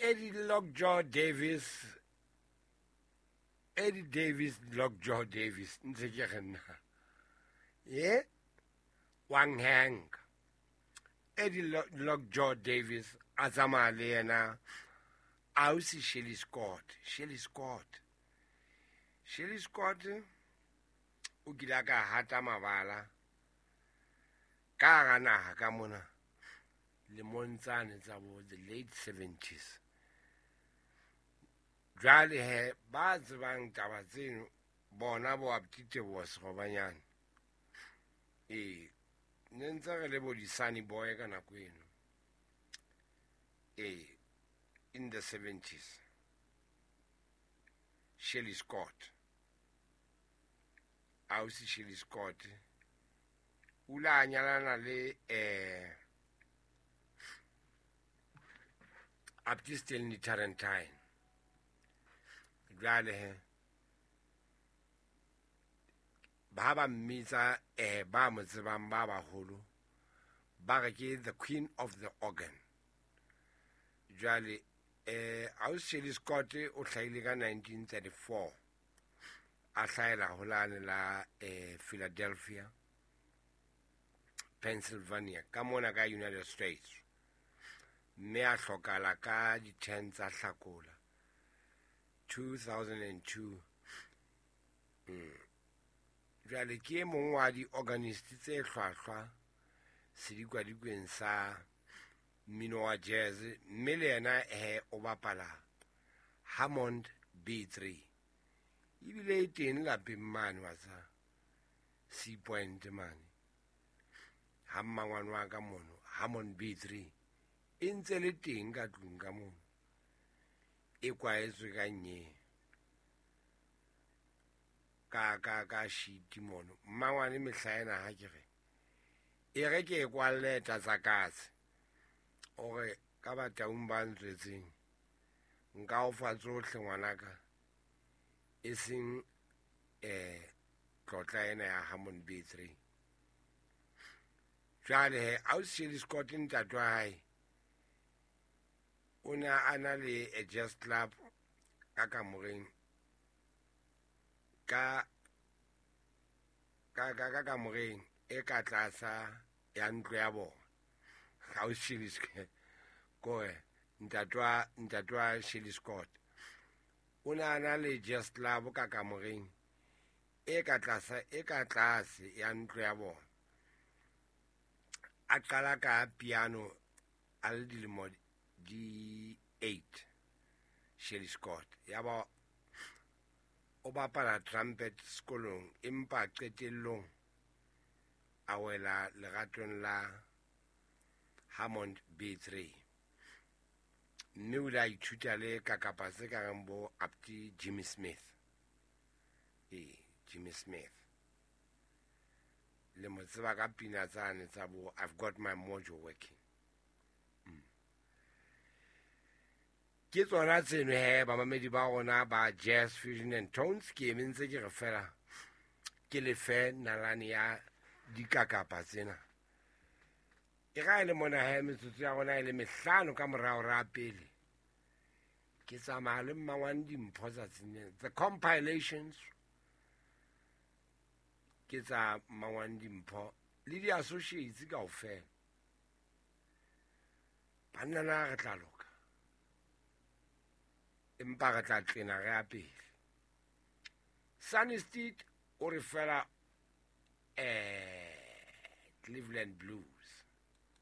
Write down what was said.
Eddie Lockjaw Davis, Eddie Davis Lockjaw Davis, ntse ke re nna ye wang Hank Eddie Lockjaw Davis a tsamaya le yena ausi Shelly Scott. Shelly Scott, Shelly Scott o kile a ka hata mabala ka hara naha ka mona lemong tsane tsa bo the late 70s. Jwale he ba tsebang taba tseno bona bo Aptiteboa Serobanyane. Ee, ne ntse re le bo di-Sunny Boy ka nako eno. Ee, in the 70s. Shelly Scott, ausi Shelly Scott o ile a nyalana le Apti Stanley Tarentine. Jwale he ba ba mmitsa, ba mo tsebang ba baholo ba re ke the queen of the organ. Jwale ausi Shelly Scott o hlahile ka 1934, a hlahela ho lane la Philadelphia, Pennsylvania, ka mona ka United States, mme a hlokala ka di-10 tsa Hlakola 2002. Jwale ke e mong wa di-organist tse hlwahlwa sedikadikweng sa mmino wa jazz, mme le yena he o bapala Hammond B3, ebile e teng lapeng mane wa tsa Sea Point mane ha mmangwane wa ka mono. Hammond B3 e ntse le teng ka tlung ka mono, e kwaetswe ka nye ka sheet mono. Mmangwane mehla ena ha ke re e re ke e kwalle tlatsa katse, o re ka bataung ba ntswetseng nka o fa tsohle ngwanaka, e seng tlotla ena ya Hammond B3. Jwale he ausi Shelly Scott, ntate wa hae o ne a na le a jazz club ka kamoreng ka kamoreng e ka tlasa ya ntlo ya bona. Ausi Shelly Scott kore ntate wa Shelly Scott o ne a na le jazz club ka kamoreng e ka tlasa e ka tlase ya ntlo ya bona. A qala ka piano a le dilemo di 8, Shelly Scott, ya ba o bapala trumpet sekolong, empa qetellong a wela leratong la Hammond B3, mme o ile a ithuta le kakapa tse ka reng bo Apti Jimmy Smith. Ee, Jimmy Smith le mo tseba ka pina tsane tsa bo I've Got My Mojo Working. Ke tsona tseno he bamamedi ba rona ba Jazz Fusion and Tones. Ke eme ntse ke re fela ke lefe nalane ya dikakapa tsena. E ga e le mona he metsotso ya rona e le mehlano ka morao ra pele, ke tsamaya le mmangwane dimpho tsatsing lena. The compilations ke tsa mmangwane dimpho le di-associates kaofela. Banna na re tla loka, empa re tla tlena re ya pele. Sunny Steed o re fela Cleveland Blues.